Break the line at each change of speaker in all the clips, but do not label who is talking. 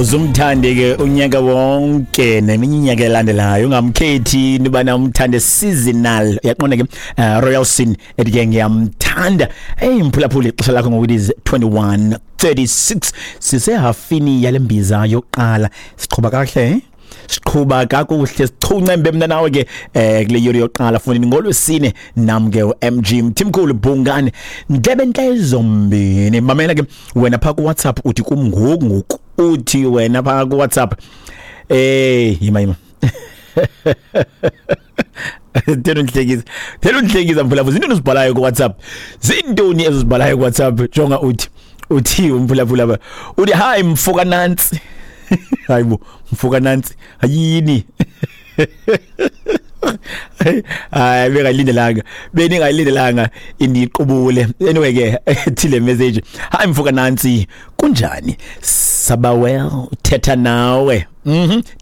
Uzumthande ke unyaka wonke neminye inyaka elandelayo, ungamkhethi into yobana umthande seasonal. Uyaqonda ke, Royal Sin ethi ke ngiyamthanda. Hey mphulaphuli, ixesha lakho ngoku it is 21:36, sisehafini yale mbiza yokuqala. Siqhuba kakuhle, eh? Siqhuba kakuhle, sichunce mna nawe ke kule yuri yokuqala fundini ngolwesine, nam ke uMG Mthimkhulu Bhungane ndlebe ntlezombini. Mamela ke wena pha ku WhatsApp, uthi kum ngoku ngoku, uthi wena pha ku WhatsApp, yima yima, thena undihlekisa, thena undihlekisa mphulaphula. Zintoni uzibhalayo ku WhatsApp? Zintoni ezizibhalayo ku WhatsApp? Jonga, uthi umphulaphula apha, uthi hi mfoka Nansi. Hayibo, mfoka Nansi, ayini? Hayi, bengayilindelanga, beningayilindelanga indiqubule. Anyway ke, thile message, hi mfoka Nansi, kunjani? Sabawel thetha nawe.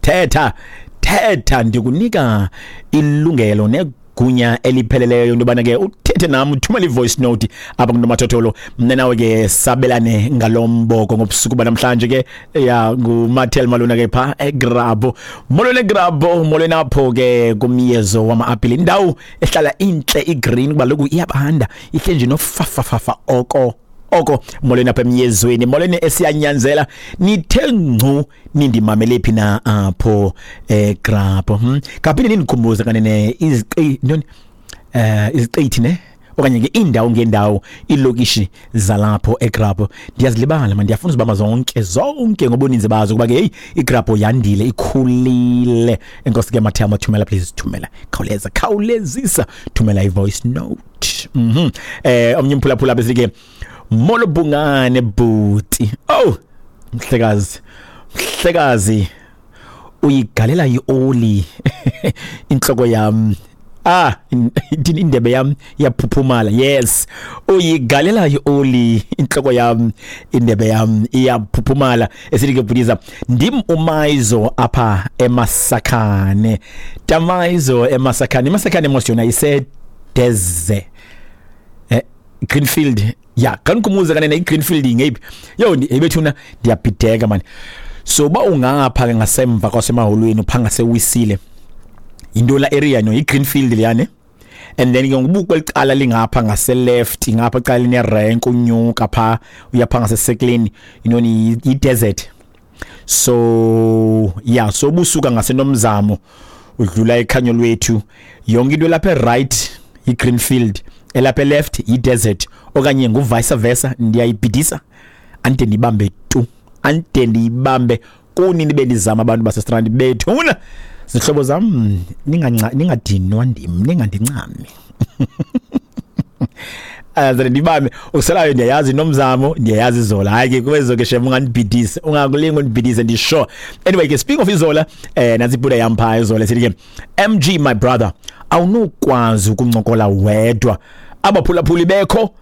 Thetha thetha, ndikunika ilungelo negunya elipheleleyo into yobana ke uthethe nam, uthumele i-voice note apha kunomathotholo, mna nawe ke sabelane ngalo mboko ngobusuku banamhlanje ke. Ya, ngumathel malona ke pha egrabo. Molweni egrabo, molweni apho ke kumyezo wama-apile, indawo ehlala intle igreen kuba loku iyabanda, ihle nje nofafafafa oko oko. Molweni apha emyezweni, molweni esiyanyanzela, nithe ngcu nindimamele phi na apho egrabo. Kaphinde nindikhumbuze kanene iziqi ntoni, iziqithi ne okanye ke iindawo ngeendawo, iilokishi zalapho egrabo, ndiyazilibala man, ndiyafuna uzibamba zonke zonke ngobuninzi bazo kuba ke heyi, igrabho yandile, ikhulile. Enkosi ke Mathema, thumela please, thumela, khawuleza, khawulezisa, thumela i-voice note. Omnye umphulaphula bese ke, molo Bhungane bhuti. Oh mhlekazi, mhlekazi, uyigalela ioli inhloko yam, ithini, indebe yam iyaphuphumala. Yes, uyigalela ioli inhloko yam, indebe yam iyaphuphumala. Esithi ke bhutiza, ndim uMayizo apha eMasakhane, Tamayizo eMasakhane. IMasakhane mos yona isedeze Greenfield. Ya, khanikhumuze kanene, iGreenfield ingeyiphi? Yo ebethuna, ndiyabhideka man. So ba ungapha ke ngasemva kwasemaholweni, upha ngasewisile, yinto la area no iGreenfield liyane, and then ke ngoku kwelicala lingapha ngase left, ngapha cala line rank, unyuka pha uyapha ngasesekleni, intoni, i desert. So yeah, so busuka ngasenomzamo udlula ekhanyo lwethu, yonke into lapha right iGreenfield, elapha left i-desert, okanye ngu vice versa. Ndiyayibhidisa, ande ndibambe tu, ande ndiyibambe kunini bendizama. Abantu basestrand bethuna, zihlobo zam, ninganca ningadinwa ndim, ningandincami, aze ndibambe uselayo. Ndiyayazi nomzamo, ndiyayazi izola. Hayi ke kwezo ke shem, ungandibhidisi, ungakulinga undibhidise, ndisure. Anyway ke, speaking of izola, nansi ibuda yam phaa izola, sithi ke, MG my brother, awunokwazi ukuncokola wedwa abaphulaphuli bekho.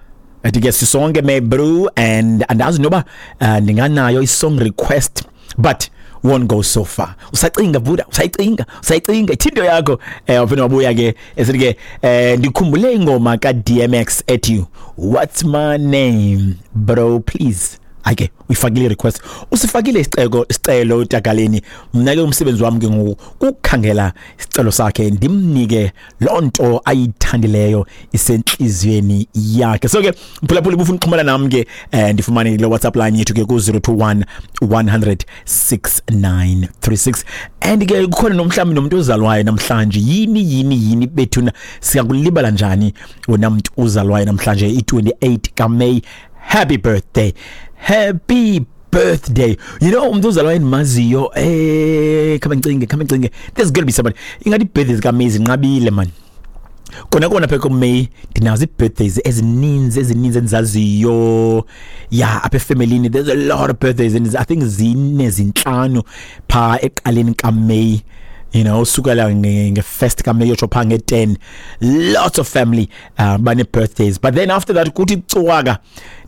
Athi ke sisonke my bro, and andazi noba ndinganayo i-song request, but won't go so far. Usacinga buda, usayicinga, usayicinga ithinto yakho. Waphinde wabuya ke esithi ke, ndikhumbule ingoma ka DMX ethi "What's My Name", bro, please. Ake uyifakile request, usifakile isicelo, isicelo utagaleni. Mna ke umsebenzi wami ke ngoku kukhangela isicelo sakhe, ndimnike lonto ayithandileyo isenhliziyweni yakhe. So ke mphulaphula, ubufuna ukuxhumana nami ke, ndifumane kule WhatsApp line yethu ke ku 021 100 6936. And ke kukhona nomhlawumbi nomuntu ozalwayo namhlanje. Yini yini yini bethuna, siyakulibala njani wena muntu uzalwayo namhlanje i28 kaMay? Happy birthday, happy birthday. You know umuntu ozalwayo endimaziyo, khame ngicinge, khame ngicinge, there's gonna be somebody. Ingathi birthdays kaMay zinqabile man. Kona kona phela kuMay ndinazo ii-birthdays ezininzi ezininzi endizaziyo. Ya, apha efemelini there's a lot of birthdays and I think zine, zintlanu phaa ekuqaleni kaMay, sukela nge-first kaMay yotsho phaa nge-10, lots of family bane-birthdays. But then after that kuthi cwaka.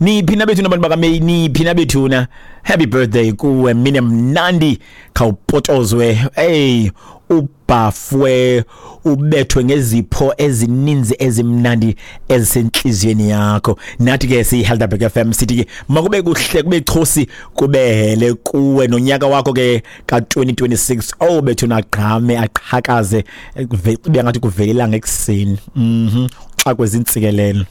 Niphi nabethu nabantu bakaMay? Niphi nabethuna? Happy birthday kuwe, mine mnandi, khawupotozwe. Hey, Ubhafwe, ubethwe ngezipho ezininzi ezimnandi ezisentliziyweni yakho. Nathi ke siyi-Helderberg FM sithi ke makube kuhle, kube chosi, kube hele kuwe nonyaka wakho ke ka-2026. Oh bethu, nagqame aqhakaze, kube ngathi kuvelelanga ekuseni. Xa kwezintsikelelo.